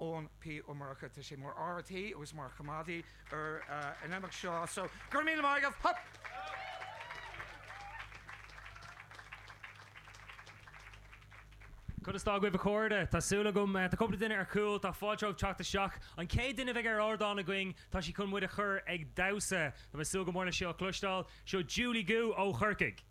Eoin P. Ó Murchú. Tá sé mar fhear tí agus mar choimeádaí ar an imeacht seo. So, go raibh míle maith agaibh! Hup! Conas tá agaibh a chairde? Tá súil agam, tá cúpla duine ar chúl, tá fáilte romhaibh teacht isteach. An chéad duine a bheidh ar ardán againn, tá sí chun muid a chur ag damhsa. Tá mé ag súil go mór le seo a chloisteáil. Seo Julie Goo ó Chorcaigh.